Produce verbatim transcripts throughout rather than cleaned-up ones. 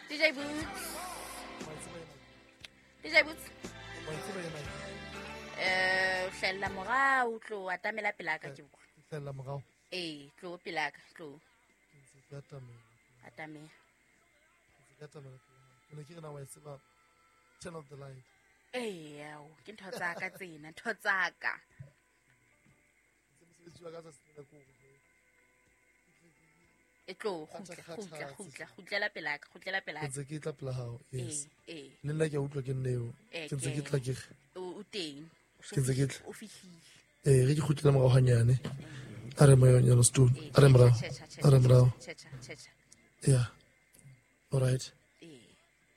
D J Boots. D J Boots. Eh, hlella morao tlo atamela pela ka ke bua. Hlella morao. Eh, tlo pela ka tlo. Ke atamela. Atamela. Ke atamela. Ke ne ke re na wa tseba turn off the light. Eh, ao, ke ntho tsa ka tsena, ntho tsa ka. E tlo kgutla kgutla kgutla kgutlela pela ka kgutlela pela ka. Ntse ke tla pela hao. Yes. Eh, eh. Le nna ke a utlwa ke nneo. Ke ntse ke tla ke. O teng. Ke ntse ke tla. O fihlile. Eh, re ke kgutlela morao hanyane. A re moyonyana stone. A re morao. A re morao. Yeah. All right.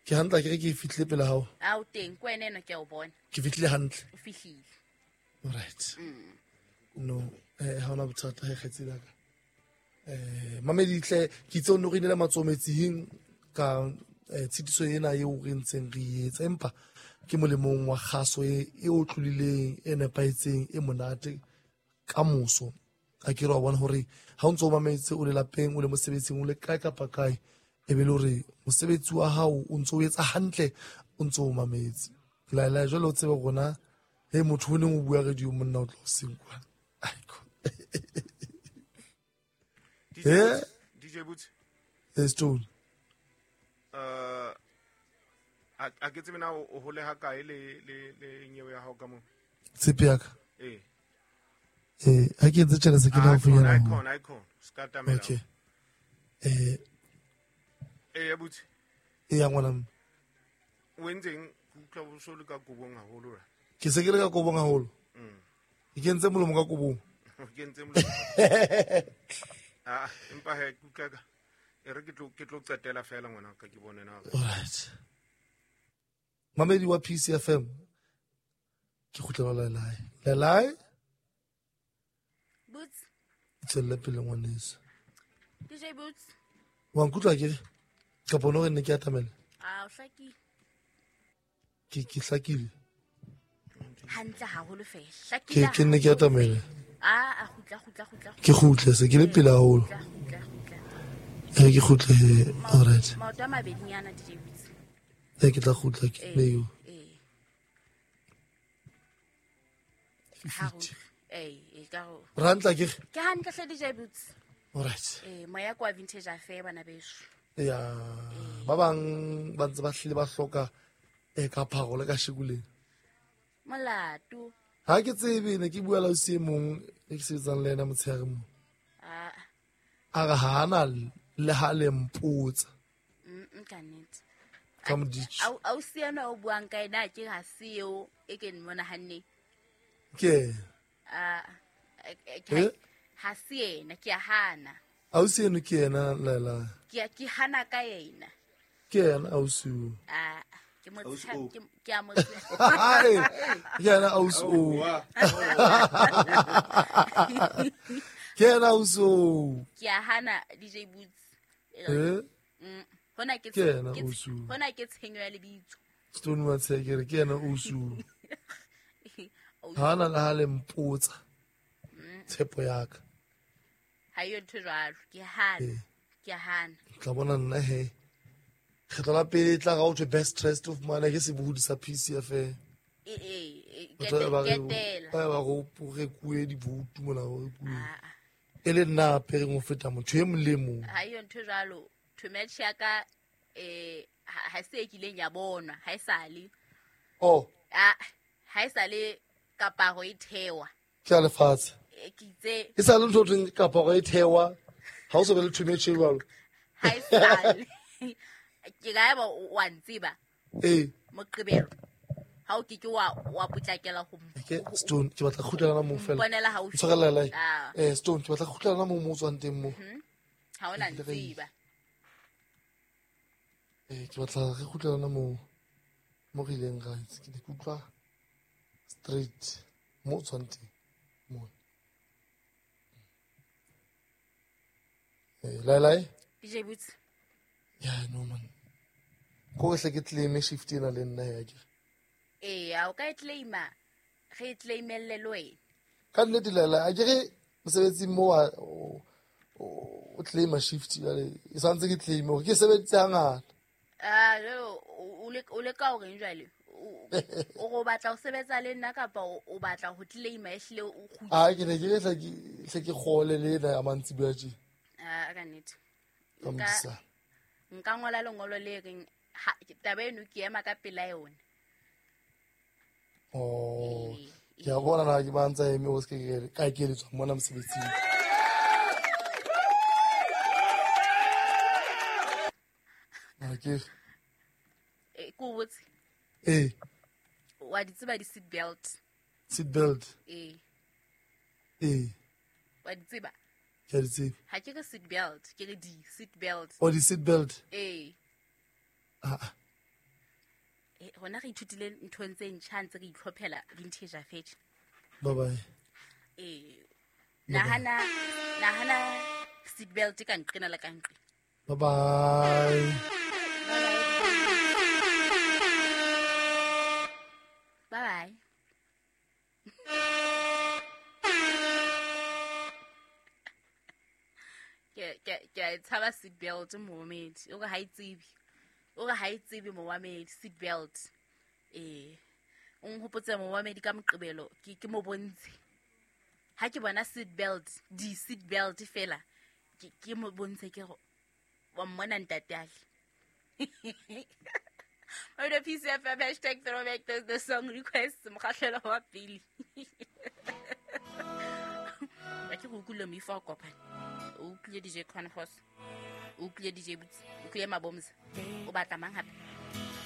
Ke hantle ke re ke fihlile pela hao. A o teng ko wena eno ke a o bona. Ke fihlile hantle. O fihlile. All right. No, eh ha ona bothata he kgetsi la ka. Eh mameditle ke itse o no re inela matsometsing ka tshitiso ena eo re ntseng re etsa empa ke molemong wa kgaso e e o tlolileng e nepahetseng e monate ka moso. A ke re wa bona hore ha o ntso o mametse o le lapeng o le mosebetsing o le kae kapa kae e be le hore mosebetsi wa hao o ntso o etsa hantle o ntso o mametse. La la jwale o tsebe rona he motho o neng o bua radio monna o tlo seng kwa. D J Boots. Yes, Stone. Uh, a ke tsebe na o hole ha kae le le le nyewe ya hao ka mo. Tshepe ya ka. Eh. Eh, ha ke entse tjena se ke na funyana. Icon, icon. Ska tamela. Okay. Eh. Eh, Boots. Eh, ya ngwana mme. O entseng ke utlwa bo so le ka kobong haholo ra. Ke se ke le ka kobong haholo. Mm. Ke entse molomo ka kobong. Ke entse molomo. Ah, empa he ke utlwa ka e re ke tlo ke tlo qetela fela ngwana ka ke bone na. All right. Mamedi wa P C F M. Ke kgutlela lelae. Lelae? Boots. Tswella pele ngwaneso. D J Boots. Wa nkutlwa ke re? Ka bona hore ne ke atamela. Ah, o hlakile. Ke ke hlakile. Hantle haholo fela. Hlakile. Ke ke ne ke atamela. Ah, a kgutla kgutla kgutla. Ke kgutle se ke le pele haholo. Kgutla kgutla. Eh ke kgutle all right. Maoto a mabedinyana D J Boots. Eh ke tla kgutla ke leo. Eh. Eh, eh ka ho. Rantla ke. Ke hantle hle D J Boots. All right. Eh moya kwa vintage affair bana beso. Ya ba bang ba ntse ba hlile ba hloka e ka pharo le ka shekuleng. Molato. Ha ke tsebe ne ke bua la o se mong e ke sebetsang le yena motshehare mo. Ah. A re ha ana le ha le mpotsa. Mm ka nnete. Ka moditjhi. Au au se ena o buang ka ena ke ha se eo e ke mmona hanne. Ke. Ah. Ha se ena ke a hana. Au se eno ke ena la la. Ke ke hana ka yena. Ke ena au se o. Ah. Ke mo ke ke a mo Ke ena ausi o. Ke ena ausi o. Ke a hana D J Boots. Eh? Mm. Hona ke ke ena ausi o. Hona ke tshenyo ya lebitso. Stone wa tshekere ke ena ausi o. Hana le ha le mpotsa. Tshepo ya ka. Ha yo ntho jwalo, ke hana. Ke hana. Tla bona nna he. Kgetlo la pele tla ga o thwe best dressed of mane ke sebohodi sa P C F M. Eh eh ke ba ba go rekuwe dibutu mona go rekuwe. E le nna apereng ho feta motho e mong le mong. Ha yo ntho jwalo, thometjhe ya ka eh ha se e kileng ya bonwa, ha e sale. Oh. Ah, ha e sale kaparo e thewa. Ke a lefatshe. Ke itse. E sale ntho thweng kaparo e thewa. Ha o so be le thometjhe jwalo. Ha e sale. Ke ga ba wa ntsiba. Eh. Moqebelo. Ha o ke ke wa wa potlakela ho. Ke Stone ke batla kgutlela mo fela. Bonela ha o. Tshwarela la. Eh Stone ke batla kgutlela mo mo tswang teng mo. Ha ona ntsiba. Eh ke batla re kgutlela mo mo re ileng ra itse ke ne ke utlwa straight mo tswang teng mo. Eh lai lai. D J Boots. Yeah, no man. Ko hle ke claim shift ena le nna ya ke. Eh, a o ka e claima. Re claimelle le wena. Ka nnete lela, a ke re mosebetsing mo o o claima shift jwale e santse ke claim hore ke sebeditse hangata. Ah, o le o le ka o reng jwale? O go batla o sebetsa le nna kapa o batla ho claima ehlile o kgutla? Ah, ke ne ke hle ke hle ke kgole le ena ya mantsibuya tje. Ah, ka nnete. Nka nka ngola lengolo le reng taba eno ke ema ka pela yona. Oh, ke a bona na ke ba ntsa eme o se ke ka keletswa mona mosebetsing. Okay. Eh, ko botse. Eh. Wa di tseba di seat belt? Seat belt. Eh. Eh. Wa di tseba? Ke di tseba. Ha ke re seat belt, ke re di seat belt. Oh, di seat belt. Eh. Ah. Eh, hona re ithutile nthong tse ntjha ntse re itlhophela vintage afetše. Bye bye. Eh. Nahana nahana seat belt ka nqena la ka nqe. Bye bye. Bye bye. Ke ke ke tshaba seat belt momedi. O re ha e tsebe. O re ha e tsebe momedi seat belt. Eh. O nhopotse momedi ka moqebelo ke ke mo bontshe. Ha ke bona seat belt, di seat belt fela ke ke mo bontshe ke go wa mmona ntate ale. Radio P C F M hashtag throwback the, the song request mokgahlelo wa pele. Ba ke go utlwile moifo wa kopana. O utlwile D J Conforce. O utlwile D J Boots. O utlwile Mabomza. O batla mang hape?